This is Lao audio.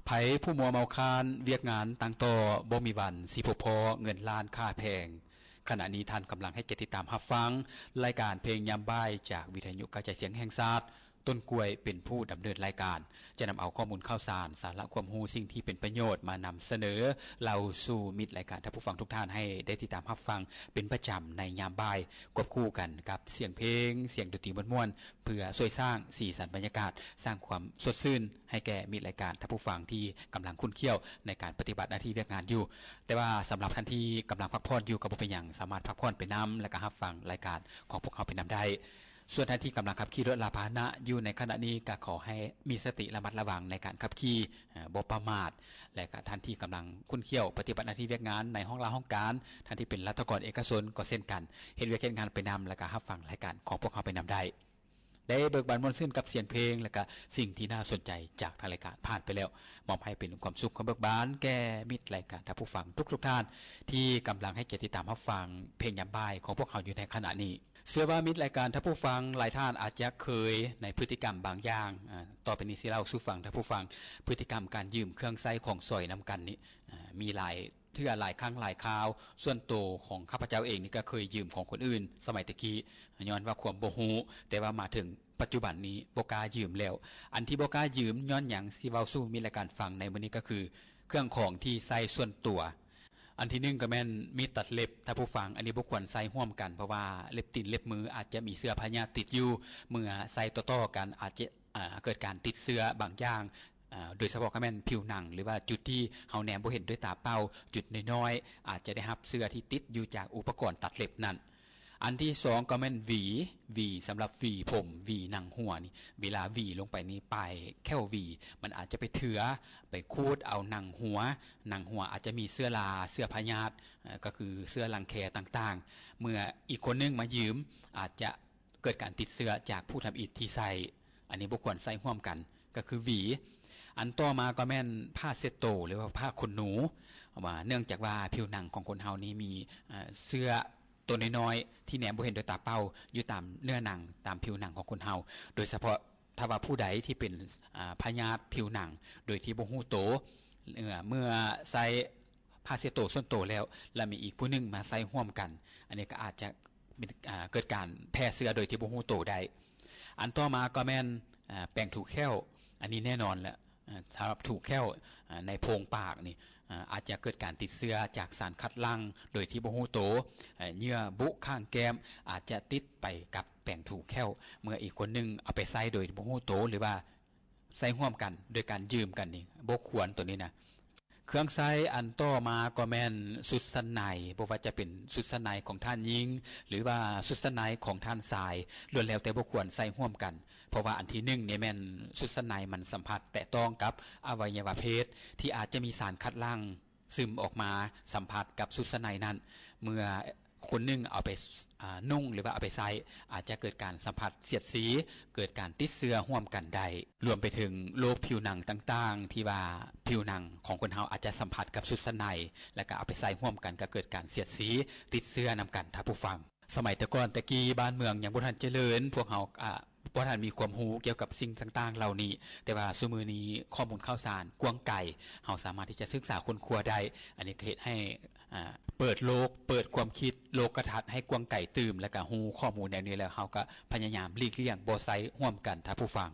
ໃຜຜູ້ມົວເມົາຄານວຽກງານຕ່າງຕໍ່ ບໍ່ມີວັນຊິພົບພໍ້ເງິນລ້ານຄ່າແພງ. ຂະນະນີ້ທ່ານກຳລັງໃຫ້ກຽດຕິດຕາມຮັບຟັງລາຍການເພງຍາມບ່າຍ ຈາກວິທະຍຸກະຈາຍສຽງແຫ່ງຊາດ. ຕົ້ນກ້ວຍເປັນຜູ້ດຳເນີນລາຍການ ຈະນຳເອົາຂໍ້ມູນຂ່າວສານ, ສາລະຄວາມຮູ້, ສິ່ງທີ່ເປັນປະໂຫຍດມານຳສະເໜີເລົ່າສູ່ມິດລາຍການທ່ານຜູ້ຟັງທຸກທ່ານໃຫ້ໄດ້ຕິດຕາມຮັບຟັງເປັນປະຈຳໃນຍາມບ່າຍ ຄວບຄູ່ກັນກັບສຽງເພງ, ສຽງດົນຕີມ່ວນໆ ເພື່ອຊ່ວຍສ້າງສີສັນບັນຍາກາດ, ສ້າງຄວາມສົດຊື່ນໃຫ້ແກ່ມິດລາຍການທ່ານຜູ້ຟັງທີ່ກຳລັງຂຸ້ນຂ້ຽວໃນການປະຕິບັດໜ້າທີ່ວຽກງານຢູ່. ແຕ່ວ່າສຳລັບທ່ານທີ່ກຳລັງພັກຜ່ອນຢູ່ກໍບໍ່ເປັນຫຍັງ, ສາມາດພັກຜ່ອນໄປນຳ ແລະກະຮັບຟັງລາຍການຂອງພວກເຮົາໄປນຳໄດ້. ສ່ວນທ່ານທີ່ກຳລັງຂັບຂີ່ລົດລາພາຫະນະຢູ່ໃນຂະນະນີ້ ກະຂໍໃຫ້ມີສະຕິລະມັດລະວັງໃນການຂັບຂີ່, ບໍ່ປະໝາດ ແລະກະທ່ານທີ່ກຳລັງຂຸ້ນຂ້ຽວປະຕິບັດໜ້າທີ່ວຽກງານໃນຫ້ອງລາຫ້ອງການ, ທ່ານທີ່ເປັນລັດຖະກອນເອກະຊົນກໍເຊັ່ນກັນ, ເຮັດວຽກເຮັດງານໄປນຳ ແລະກະຮັບຟັງລາຍການຂອງພວກເຮົາໄປນຳໄດ້. ໄດ້ເບີກບານມ່ວນຊື່ນກັບສຽງເພງ ແລະກະສິ່ງທີ່ໜ້າສົນໃຈຈາກທາງລາຍການຜ່ານໄປແລ້ວ, ມອບໃຫ້ເປັນຄວາມສຸກຄວາມເບີກບານແກ່ມິດລາຍການທ່ານຜູ້ຟັງທຸກໆທ່ານ ທີ່ກຳລັງໃຫ້ກຽດຕິດຕາມຮັບຟັງເພງຍາມບ່າຍຂອງພວກເຮົາຢູ່ໃນຂະນະນີ້. ເຊື່ອວ່າມິດລາຍການທ່ານຜູ້ຟັງຫຼາຍທ່ານອາດຈະເຄີຍໃນພຶດຕິກຳບາງຢ່າງ, ອາ, ຕໍ່ໄປນີ້ຊິເລົ່າສູ່ຟັງທ່ານຜູ້ຟັງ ພຶດຕິກຳການຢືມເຄື່ອງໃຊ້ຂອງສອຍນຳກັນນີ້, ອາ, ມີຫຼາຍເທື່ອຫຼາຍຄັ້ງຫຼາຍຄາວ. ສ່ວນໂຕຂອງຂ້າພະເຈົ້າເອງນີ້ກໍເຄີຍຢືມຂອງຄົນອື່ນສະໄໝແຕ່ກີ້ ຍ້ອນວ່າຄວາມບໍ່ຮູ້, ແຕ່ວ່າມາເຖິງປັດຈຸບັນນີ້ບໍ່ກ້າຢືມແລ້ວ. ອັນທີ່ບໍ່ກ້າຢືມຍ້ອນຫຍັງ ຊິເວົ້າສູ່ມິດລາຍການຟັງໃນມື້ນີ້ກໍຄື ເຄື່ອງຂອງທີ່ໃຊ້ສ່ວນຕົວ. ອັນທີໜຶ່ງກໍແມ່ນມີດຕັດເລັບ ທ່ານຜູ້ຟັງ, ອັນນີ້ບໍ່ຄວນໃຊ້ຮ່ວມກັນ ເພາະວ່າເລັບຕີນເລັບມືອາດຈະມີເຊື້ອພະຍາດຕິດຢູ່, ເມື່ອໃຊ້ຕໍ່ໆກັນອາດຈະ ອາ ເກີດການຕິດເຊື້ອບາງຢ່າງ, ອາ ໂດຍສະເພາະກໍແມ່ນຜິວໜັງ ຫຼືວ່າຈຸດທີ່ເຮົາແນມບໍ່ເຫັນດ້ວຍຕາເປົ່າ, ຈຸດນ້ອຍໆ ອາດຈະໄດ້ຮັບເຊື້ອທີ່ຕິດຢູ່ຈາກອຸປະກອນຕັດເລັບນັ້ນ. ອັນທີສອງກໍແມ່ນຫວີ, ຫວີສຳລັບຫວີຜົມ, ຫວີໜັງຫົວນີ້, ເວລາຫວີລົງໄປນີ້ ປາຍແຂ້ວຫວີມັນອາດຈະໄປເຖືອ, ໄປຂູດເອົາໜັງຫົວ, ໜັງຫົວອາດຈະມີເຊື້ອລາ, ເຊື້ອພະຍາດ, ເອີ່ ກໍຄືເຊື້ອລັງແຄຕ່າງໆ. ເມື່ອອີກຄົນໜຶ່ງມາຢືມ ອາດຈະເກີດການຕິດເຊື້ອຈາກຜູ້ທຳອິດທີ່ໃຊ້, ອັນນີ້ບໍ່ຄວນໃຊ້ຮ່ວມກັນ ກໍຄືຫວີ. ອັນຕໍ່ມາກໍແມ່ນຜ້າເຊັດໂຕ ຫຼືວ່າຜ້າຂົນໜູ, ວ່າເນື່ອງຈາກວ່າຜິວໜັງຂອງຄົນເຮົານີ້ມີ ເອີ່ ເຊື້ອ ຕົວນ້ອຍໆທີ່ແນມບໍ່ເຫັນດ້ວຍຕາເປົ່າຢູ່ຕາມເນື້ອໜັງ, ຕາມຜິວໜັງຂອງຄົນເຮົາ, ໂດຍສະເພາະຖ້າວ່າຜູ້ໃດທີ່ເປັນ ອາ ພະຍາດຜິວໜັງໂດຍທີ່ບໍ່ຮູ້ໂຕ, ເມື່ອໃຊ້ຜ້າເຊັດໂຕສ່ວນໂຕແລ້ວ ແລະມີອີກຜູ້ໜຶ່ງມາໃຊ້ຮ່ວມກັນ, ອັນນີ້ກໍອາດຈະເປັນ ອາ ເກີດການແຜ່ເຊື້ອໂດຍທີ່ບໍ່ຮູ້ໂຕໄດ້. ອັນຕໍ່ມາກໍແມ່ນ ອາ ແປງຖູແຂ້ວ, ອັນນີ້ແນ່ນອນແຫຼະ ອາ ສຳລັບຖູແຂ້ວ ອາ ໃນໂພງປາກນີ້ ອາ ອາດຈະເກີດການຕິດເຊື້ອຈາກສານຄັດຫຼັ່ງໂດຍທີ່ບໍ່ຮູ້ໂຕ, ອາ ເຍື່ອບຸຂ້າງແກ້ມອາດຈະຕິດໄປກັບແປງຖູແຂ້ວ ເມື່ອອີກຄົນໜຶ່ງເອົາໄປໃຊ້ໂດຍບໍ່ຮູ້ໂຕ ຫຼືວ່າໃຊ້ຮ່ວມກັນໂດຍການຢືມກັນນີ້ ບໍ່ຄວນໂຕນີ້ນະ. ເຄື່ອງໃຊ້ອັນຕໍ່ມາກໍແມ່ນຊຸດຊັ້ນໃນ, ບໍ່ວ່າຈະເປັນຊຸດຊັ້ນໃນຂອງທ່ານຍິງ ຫຼືວ່າຊຸດຊັ້ນໃນຂອງທ່ານຊາຍ, ລ້ວນແລ້ວແຕ່ບໍ່ຄວນໃຊ້ຮ່ວມກັນ, ເພາະວ່າອັນທີໜຶ່ງນີ້ແມ່ນຊຸດຊັ້ນໃນມັນສຳຜັດແຕະຕ້ອງກັບອະໄວຍະວະເພດ ທີ່ອາດຈະມີສານຄັດຫຼັ່ງຊຶມອອກມາສຳຜັດກັບຊຸດຊັ້ນໃນນັ້ນ. ເມື່ອ ຄົນໜຶ່ງເອົາໄປ ອາ ນຸ່ງ ຫຼືວ່າເອົາໄປໃຊ້ ອາດຈະເກີດການສຳຜັດສຽດສີ, ເກີດການຕິດເຊື້ອຮ່ວມກັນໄດ້, ລວມໄປເຖິງໂລກຜິວໜັງຕ່າງໆ ທີ່ວ່າຜິວໜັງຂອງຄົນເຮົາອາດຈະສຳຜັດກັບຊຸດຊັ້ນໃນ ແລ້ວກໍເອົາໄປໃຊ້ຮ່ວມກັນ ກໍເກີດການສຽດສີ, ຕິດເຊື້ອນຳກັນ ທ່ານຜູ້ຟັງ. ສະໄໝແຕ່ກ່ອນແຕ່ກີ້ ບ້ານເມືອງຍັງບໍ່ທັນຈະເລີນ, ພວກເຮົາ ອາ ບໍ່ທັນມີຄວາມຮູ້ກ່ຽວກັບສິ່ງຕ່າງໆເຫຼົ່ານີ້, ແຕ່ວ່າຊຸມື້ນີ້ຂໍ້ມູນຂ່າວສານກວ້າງໄກ, ເຮົາສາມາດທີ່ຈະສຶກສາຄົ້ນຄວ້າໄດ້. ອັນນີ້ກໍເຮັດໃຫ້ ອາ ເປີດໂລກ, ເປີດຄວາມຄິດ, ໂລກກະທັດໃຫ້ກວ້າງໄກຕື່ມ, ແລ້ວກໍຮູ້ຂໍ້ມູນແນວນີ້ແລ້ວ, ເຮົາກໍພະຍາຍາມຫຼີກລ່ຽງບໍ່ໃຊ້ຮ່ວມກັນ, ທ່ານຜູ້ຟັງ.